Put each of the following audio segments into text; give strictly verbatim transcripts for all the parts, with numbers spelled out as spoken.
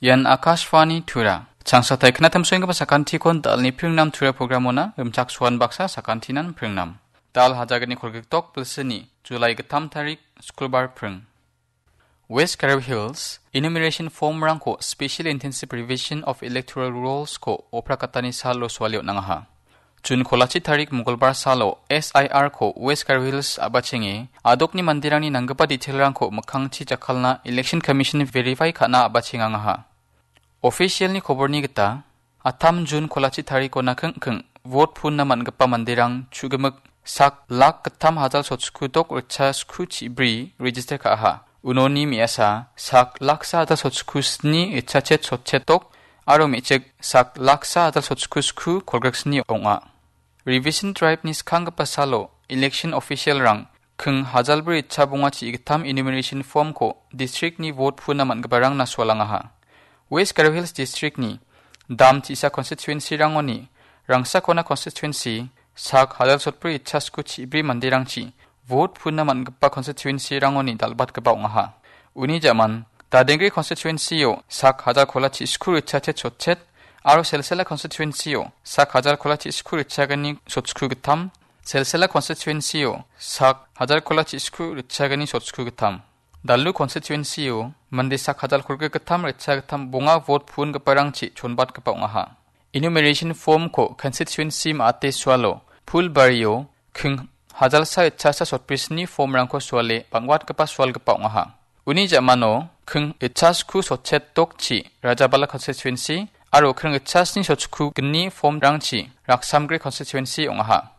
Ian Akashvani Tura. Changsatai knatamsoenggipa sakantikon dalni pringnam Tura programona rimchaksoan baksa sakantinan pringnam. Dal hajagni kolgikdok bilsini, July gittam tarik, Skulbar pring. West Garo Hills, enumeration form-rangko Special Intensive Revision of Electoral Rules-ko oprakatani salo suali on·angaha. Jun kolachi tarik Mongolbar salo S I R-ko West Garo Hills a·bachenge, adokni manderangni nanggipa detail-rangko mikkangchi jakkalna Election Commission verify ka·na a·bachengangaha. Official-ni koborni gita, atam Jun kolachi tarikona kingking vote puna man·gipa manderang chu·gimik sak lak gittam hajal sotchukudok ritcha sku chibri register ka·aha. Unoni me·asa sak laksa hajal sotchuku sni ritchachet sotchetdok aro me·chik sak laksa hajal sotchuku sku kolgriksni ong·a. Revision drive-ni skanggipa salo election official-rang king hajalbri ritchabonga chi gittam enumeration form-ko district-ni vote puna man·giparangna sualangaha. West Garo Hills District-ni dam tisa constituency-rangoni Rangsakona constituency sak hajal sotbri ritchasku chibri manderangchi vote puna man·gipa constituency-rangoni dal·batgipa ong·aha. Uni jaman, Dadengri constituency-o sak hajal kolachi sku ritchachet sotchet aro Selsela constituency-o sak hajal kolachi sku ritchagni sotchku gittam, Selsela constituency-o sak hajal kolachi sku ritchagni sotchku gittam. Dalu constituency-o mande sak hajal kolgrik gittam ritcha gittam bonga vote puongiparangchi chonbatgipa ong·aha. Enumeration form-ko constituency ma·ate sualo Phulbario king hajalsa ritchasa sotbrisni form-rangko suale bang·watgipa sualgipa ong·aha. Uni jamano king ritchasku sotchetdokchi Rajabala constituency aro king ritchasni sotchukugni form-rangchi Raksamgre constituency ong·aha.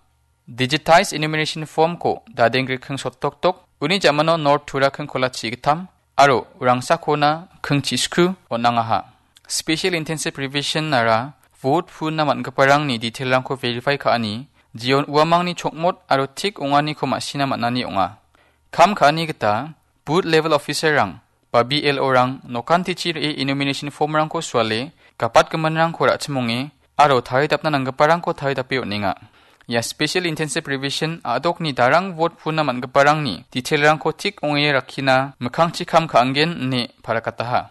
Digitized enumeration form-ko Dadengri king sotdokdok, uni jamano North Tura king kolachi gittam, aro Rangsakona king chisku on·angaha. Special Intensive Revision-ara vote puna man·giparangni detail-rangko verify ka·ani, jeon uamangni chokmot aro tik ong·aniko ma·sina man·ani ong·a. Kam ka·ani gita, booth level officer-rang ba B L O-rang nokantichi re·e enumeration form-rangko suale, gapatgiminrangko ra·chimonge, aro taridapna nanggiparangko taridape on·enga. Ia Special Intensive Revision a·dokni darang vote puna man·giparangni detail-rangko tik ong·e rakkina mikkangchi kam ka·angen ine parakataha.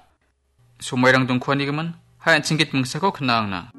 Somoirang dongkuanigimin, hai an·ching git mingsako knangna.